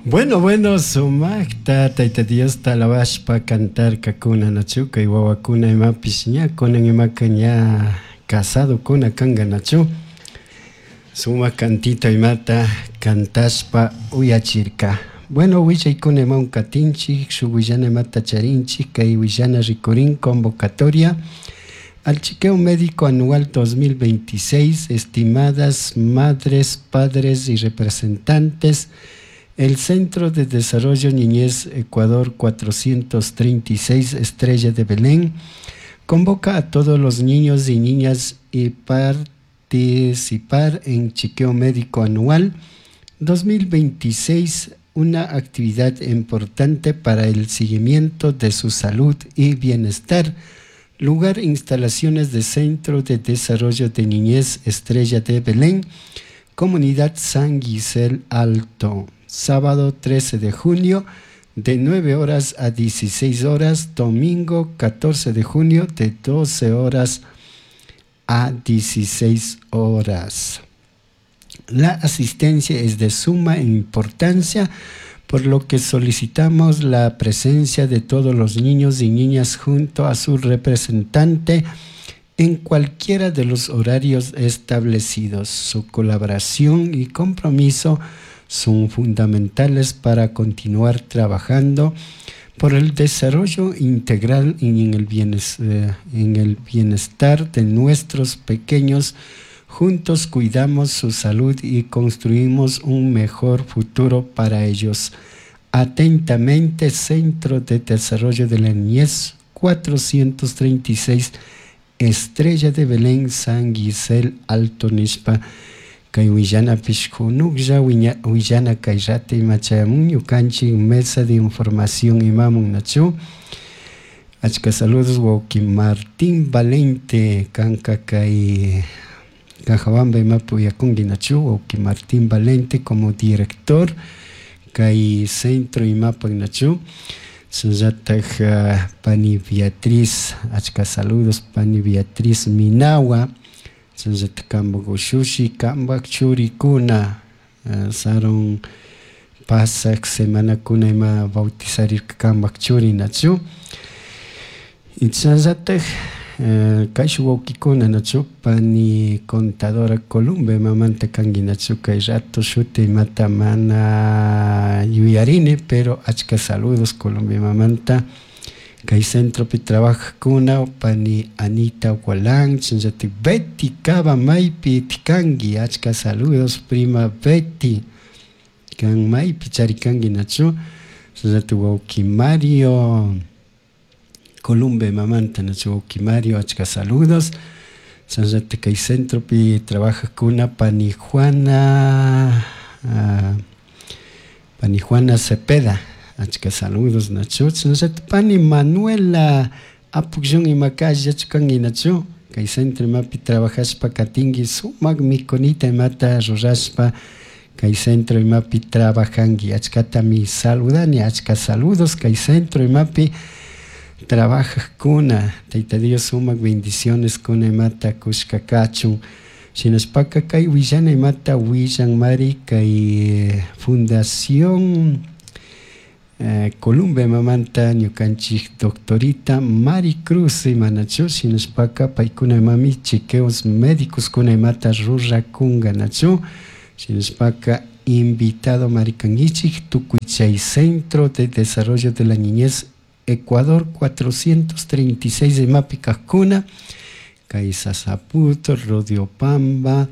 Bueno, bueno, sumaqta Tayta Diosta alabashpa cantarkakuna nachu kay wawakuna imapish ña kunan imaka ña casadokuna kanka nachu sumak cantito imata cantashpa uyachirka. Bueno, willaykuna imawan katinchik, shuk willana imata charinchik, kay willana rikurin convocatoria al chequeo médico anual 2026, estimadas madres, padres y representantes. El Centro de Desarrollo Niñez Ecuador 436 Estrella de Belén convoca a todos los niños y niñas y participar en chequeo médico anual 2026, una actividad importante para el seguimiento de su salud y bienestar. Lugar: instalaciones de Centro de Desarrollo de Niñez Estrella de Belén, Comunidad San Gisel Alto. Sábado 13 de junio de 9 horas a 16 horas, domingo 14 de junio de 12 horas a 16 horas. La asistencia es de suma importancia, por lo que solicitamos la presencia de todos los niños y niñas junto a su representante en cualquiera de los horarios establecidos. Su colaboración y compromiso son fundamentales para continuar trabajando por el desarrollo integral y en el bienestar de nuestros pequeños. Juntos cuidamos su salud y construimos un mejor futuro para ellos. Atentamente, Centro de Desarrollo de la Niñez 436 Estrella de Belén, San Gisel Alto nishpa kay willanapish kunuklla willana kay rato ima chayamun ñukanchik mesa de información imamun nachu. Achka saludos, wawki Martín Valente, kanka kay Cajabamba imapi uyakunki nachu, wawki Martín Valente como director kay centro imapak nachu. Shinallatak pani Beatriz, achka saludos, pani Beatriz Minawa, shinallatak kampak ushushi, kampak churikuna sarun pasak semanakuna ima bautizarirka kampak churi nachu. Shinallatak kayshuk wawkikuna nachu, pani contadora Columba imamanta kanki nachu, kay rato shuti imata mana yuyarini, pero achka saludos Colombia imamanta kay centropi trabajajkuna, pani Anita Gualán, shinallatik Betty Cava, maypi kanki, achka saludos, prima Betty, kan maypi charikanki nachu. Shinallatik wawki Mario Columba imamanta nachu, wawki Mario, achka saludos. Shinallatik kay centropi trabajajkuna, pani Juana Cepeda, achka saludos nachu. Shinallatik pani Manuela Apukllun, imaka allillachu kanki nachu, kay centro imapi trabajashpa katinki, sumak mikunita imata rurashpa kay centro imapi trabajanki, achkatami saludani, achka saludos kay centro imapi trabajajkuna. Tayta Dios sumak bendiciones kuna imata kushka kachun. Shinashpaka kay willana imata willanmari kay Fundación Columbia imamanta ñukanchik doctorita Mari Cruz imanachu. Shinashpaka paykuna imami chequeos médicos kuna imata rurakunga nachu. Shinashpaka invitado marikankichik tukuy chay Centro de Desarrollo de la Niñez Ecuador 436 imapi kajkuna, kay Sasaputo, Rodiopamba,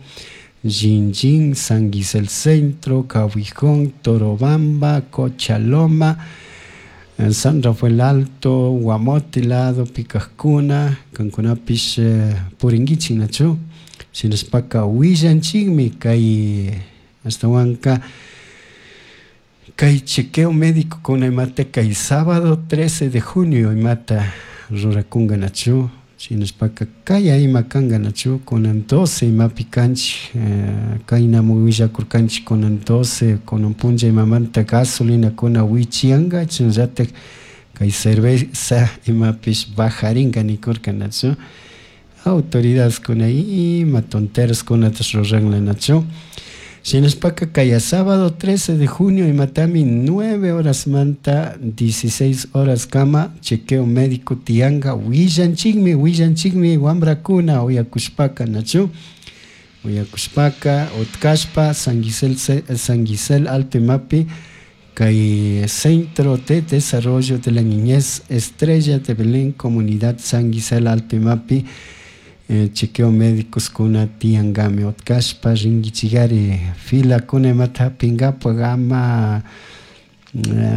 Jinjin, San Gisel Centro, Cahuijón, Torobamba, Cochaloma, San Rafael Alto, Guamote lado, Picajcuna, kankunapish purinkichik nachu. Shinashpaka willanchikmi kay ashtawanka kay chequeo médico kuna imata kay sábado 13 de junio imata rurakunga nachu. Shinashpaka kaya ima kanka nachu, kunan 12 imapi kanchik, kaynamun willakurkanchik kunan 12, kunan punlla imamanta gasolinakuna wichiyanka, chashnallatak kay cerveza imapish bajarinka nikurka nachu. Autoridadeskuna ima tonteraskunata ruranla nachu. Shinashpaka kaya sábado 13 de junio imatami 9 horas manta 16 horas kama chequeo médico tianga willanchikmi willanchikmi wambrakuna uyakushpaka nachu uyakushpaka utkashpa San Gisel, San Gisel Alto imapi kay Centro de Desarrollo de la Niñez Estrella de Belén Comunidad San Gisel Alto imapi chequeo médicos kuna tiangami utkashpa rinkichikari fila kuna imata hapinkapak ama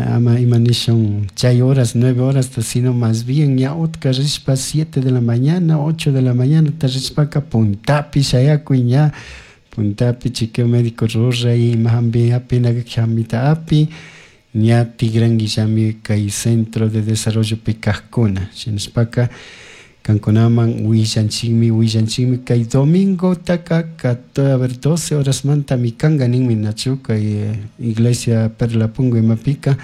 ama ima nishun chay horas 9 horas sino más bien ña utka rishpa 7 de la mañana 8 de la mañana ta rishpaka puntapi shayakuy ña puntapi chequeo médico ruray ima hampi hapina hambita api ña tigrankillami kay Centro de Desarrollo kajkuna shinashpaka kankunaman willanchikmi willanchikmi kay domingo taka a ver 12 horas mantami kanka ninmi nachu kay iglesia Perlapungo imapika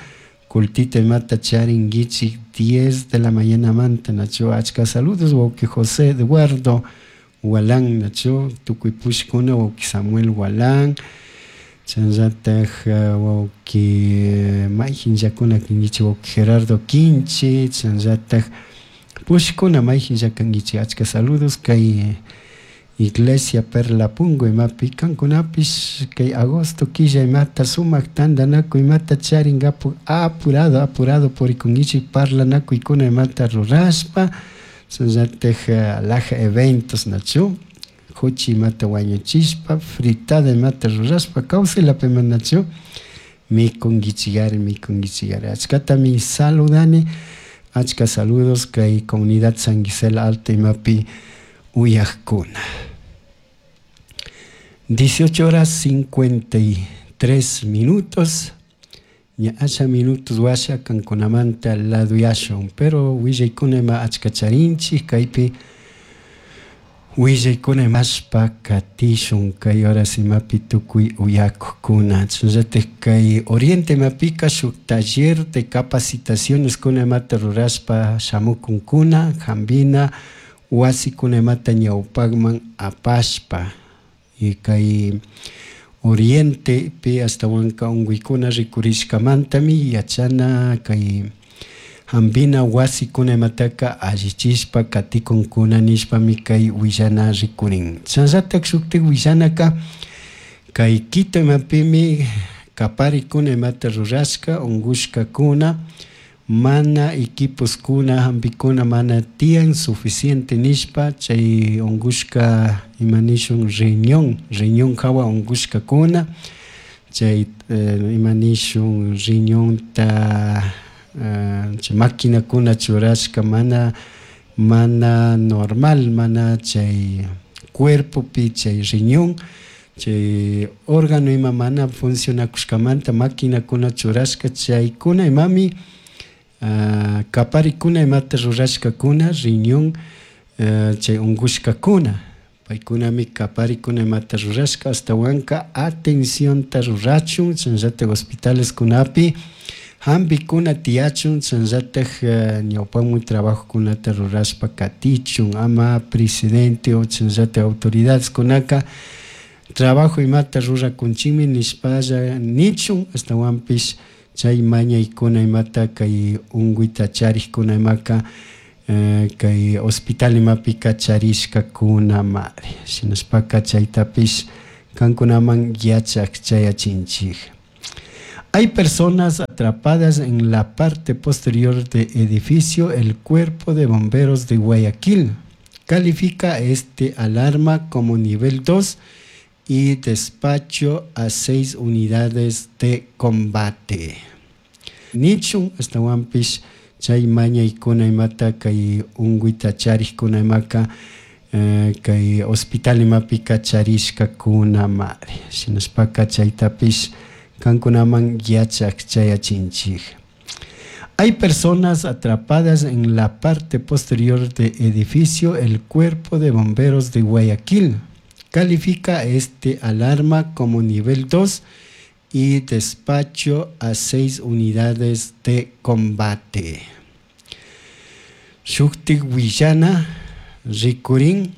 cultito imata charinkichik 10 de la mañana manta nachu achka saludos wawki José Eduardo Walán nachu tukuy pushkuna wawki Samuel Walán chayllatak wawki mayjinllakuna kankichik wawki Gerardo Quinchi chayllatak pushkuna mayjinlla kankichik achka saludos kay iglesia Perlapungo imapi kankunapish kay agosto killa imata sumak tantanakuy imata charinkapak apurado apurado purikunkichik parlanakuykuna imata rurashpa chayllatak alhaja eventos nachu huchi imata wañuchishpa fritada imata rurashpa kawsaylapi nachu mikunkichikari mikunkichikari achkatami saludani achka saludos kay comunidad San Gisela Alto imapi uyajkuna. 18 horas 53 minutos ña asha minutos washa kankunamanta laduyashun pero willaykuna ima achka charinchik kaypi willaykuna imashpa katishun kay horas imapi tukuy uyakukuna chayllatik kay Oriente imapika shuk taller de capacitaciones kuna imata rurashpa shamukunkuna hampina wasikuna imata ñawpakman apashpa y kay Oriente pi ashtawanka unkuykuna rikurishkamantami yachana kay hampina wasikuna imataka allichishpa katikunkuna nishpami kay willana rikurin chayllatak shuktik willanaka kay Quito imapimi kaparikuna imata rurashka unkushkakuna mana equiposkuna hampikuna mana tiyan suficiente nishpa chay unkushka ima nishun riñón riñón hawa unkushkakuna chay ima nishun riñonta chay maquinakuna churashka mana mana normal mana chay cuerpopi chay riñón chay órgano ima mana funcionakushkamanta maquinakuna churashka chaykuna imami kaparikuna imata rurashkakuna riñón chay unkushkakuna paykunami kaparikuna imata rurashka ashtawanka atencionta rurachun chayllatak hospitaleskunapi hampikuna tiyachun chayllatak ñawpamun trabajokunata rurashpa katichun ama presidente o chayllatak autoridadeskunaka trabajo imata rurakunchikmi nishpalla nichun ashtawanpish chay mañaykuna imata kay unkuyta charikkuna imaka kay hospital imapika charishkakunamari shinashpaka chaytapish kankunaman yachak chayachinchik. Hay personas atrapadas en la parte posterior del edificio. El cuerpo de bomberos de Guayaquil califica este alarma como nivel 2 y despacho a 6 unidades de combate. Nichun ashtawanpish chay mañaykuna imata kay unkuyta charikkuna imaka kay hospital imapika charishkakunamari shinashpaka chaytapish kankunaman yachak chayachinchik. Hay personas atrapadas en la parte posterior del edificio. El cuerpo de bomberos de Guayaquil califica este alarma como nivel 2 y despacho a 6 unidades de combate. Shuktik willana rikurin.